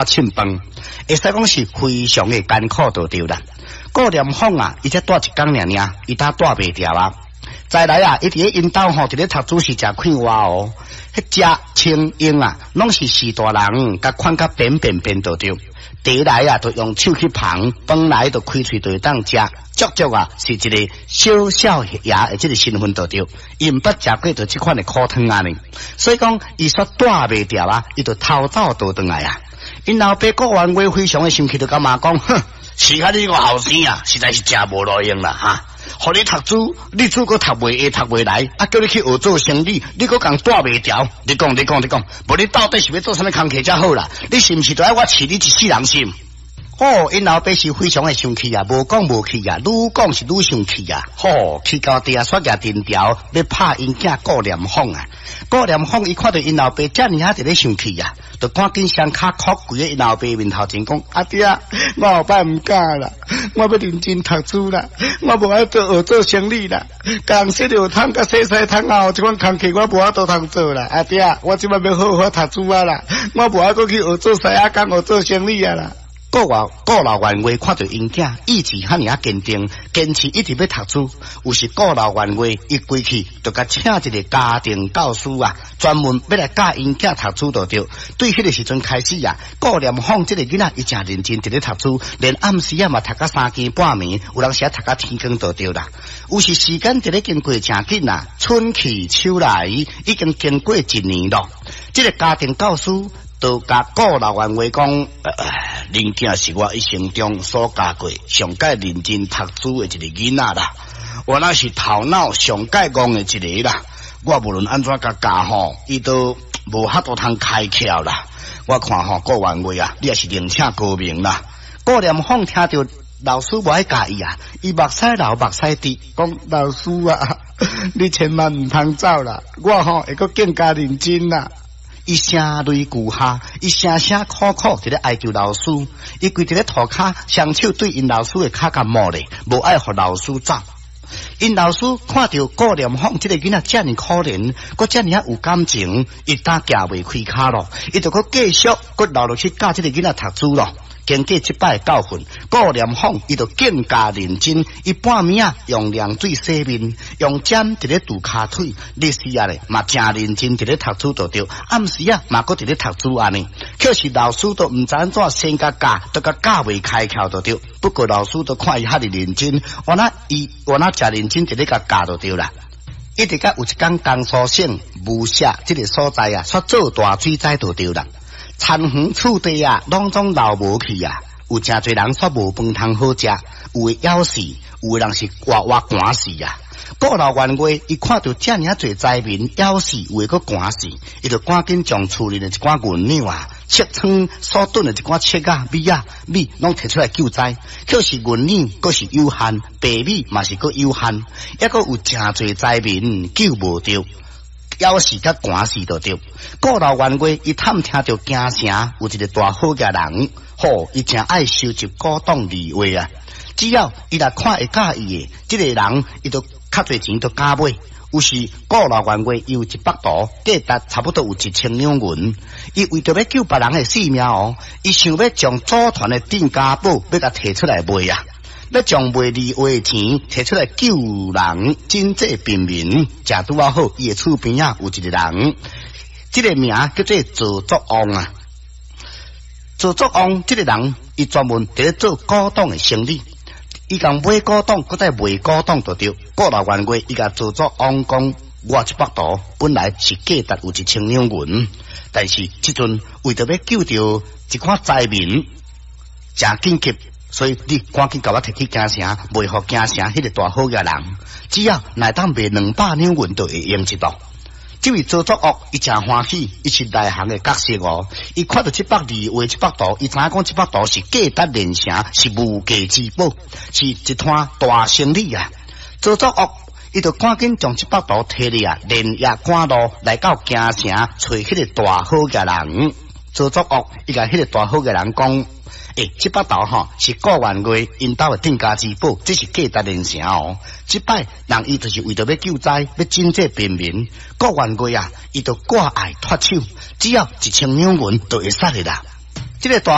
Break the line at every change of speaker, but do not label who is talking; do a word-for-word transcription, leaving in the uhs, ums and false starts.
凊飯，會使講是非常的艱苦就對啦。顧連鳳啊，伊才蹛一工爾爾，伊擔蹛袂牢啊。再來啊，伊佇咧𪜶兜吼，佇咧讀書是誠快活哦。彼食穿用啊，攏是序大人共看甲扁扁扁就對。茶來啊，就用手去捧；飯來就開喙就會當食。足足啊，是一個小少爺的這个身份就對。伊毋捌食過著這款的苦湯按呢，所以講伊煞蹛袂牢啊，伊就偷走倒轉來啊。𪜶老爸顧元月非常的生氣，就共罵講：哼，是較你個後生啊，實在是誠無路用啦哈！予你讀書，你書閣讀袂會，讀袂來，啊，叫你去學做生理，你閣共蹛袂牢。你講，你講，你講，無你到底是欲做啥物工課才好啦？你是毋是著愛我飼你一世人心？吼，𪜶老爸是非常的生氣啊，無講無氣啊，愈講是愈生氣啊。吼，氣到地啊，煞舉藤條欲拍𪜶囝顧連鳳啊。顧連鳳伊看著𪜶老爸遮爾仔佇咧生氣啊，就趕緊雙跤叩跪佇𪜶老爸面頭前講：阿爹，我後擺毋敢啦，我欲認真讀書啦，我無愛做學做生理啦，共人洗尿桶佮洗屎桶仔，這款工課我無法度通做啦。阿爹，我這擺欲好好讀書啊啦，我無愛閣去學做師仔工，學做生理啊啦。顧老顧老元月看著𪜶囝意志遐爾仔堅定，堅持一直欲讀書。有時顧老元月伊規氣就共請一个家庭教師啊，專門欲來教𪜶囝讀書就對。對彼个時陣開始啊，顧連鳳這个囡仔伊誠認真佇咧讀書，連暗時啊嘛讀到三更半暝，有當時啊讀到天光就對啦。有時時間佇咧經過誠緊啊，春去秋來，已經經過一年咯。這个家庭教師就共顧老元月講，恁囝是我一生中所教過上蓋認真讀書的一個囡仔啦，我那是頭腦上蓋戇的一個啦。我無論按怎共教吼，伊都無法度通開竅啦。我看吼顧元月啊，你也是另請高明啦。顧連鳳聽著老師無愛教伊啊，伊目屎流目屎滴，講老師啊，你千萬毋通走啦，我吼會閣更加認真啦。伊聲淚俱下，伊聲聲苦苦佇咧哀求老師，伊跪佇咧塗跤，雙手對𪜶老師的跤共摸咧，無愛予老師走。𪜶老師看著顧連鳳這个囡仔遮爾可憐，閣遮爾仔有感情，伊擔行袂開跤咯，伊就閣繼續閣留落去教這个囡仔讀書咯。經過這擺教訓，顧連鳳伊就更加認真。伊半暝仔用涼水洗面，用針佇咧拄跤腿，日時仔咧嘛誠認真佇咧讀書就對，暗時仔嘛閣佇咧讀書按呢。可是老師都毋知按怎先共教，都共教袂開竅就對。不過老師都看伊遐爾認真，原來伊原來誠認真佇咧共教就對啦。一直到有一工江蘇省無錫這个所在啊，煞做大水災就對啦。田園厝地啊，攏總流無去啊！有誠濟人煞無飯通好食，有的枵死，有的人是活活寒死啊！顧老元月伊看著遮爾仔濟災民枵死，有的閣寒死，伊就趕緊將厝裡的一寡銀兩啊、粟倉所囤的一寡粟仔、米仔、米攏提出來救災。可是銀兩閣是有限，白米嘛是閣有限，抑閣有誠濟災民救無著。枵死佮寒死就對。顧老元月伊探聽著京城有一个大好額人，吼，伊誠愛收集古董字畫啊。只要伊若看會佮意的，這个人伊就較濟錢都敢買。有時顧老元月伊有一幅圖，價值差不多有一千兩銀。伊為著欲救別人的性命哦，伊想欲將祖傳的鎮家寶欲共提出來賣啊。欲將賣字畫的錢提出來救人，賑濟貧民。誠拄仔好，伊的厝邊仔有一個人，這个名叫做趙作王啊。趙作王這个人，伊專門佇咧做古董的生意。伊共買古董，閣再賣古董就對。顧老元月，伊共趙作王講：我這幅圖本來是價值有一千兩銀，但是這陣為著欲救著一寡災民，誠緊急。所以你趕緊共我提去京城，賣予京城彼个大好額人，只要若當賣兩百兩銀，就會用一度。這位趙作岳，伊誠歡喜，伊是內行的角色哦。伊看著這幅字畫這幅圖，伊知影講這幅圖是價值連城，是無價之寶，是一攤大生意啊。趙作岳，伊就趕緊將這幅圖提咧啊，連夜趕路來到京城，揣彼个大好額人。趙作岳，伊共彼个大好額人講：欸，這幅圖吼是顧元月𪜶兜的鎮家之寶，這是價值連城哦。這擺人伊就是為著欲救災，欲賑濟貧民。顧元月啊，伊就掛礙脫手，只要一千兩銀就會使的啦。這个大。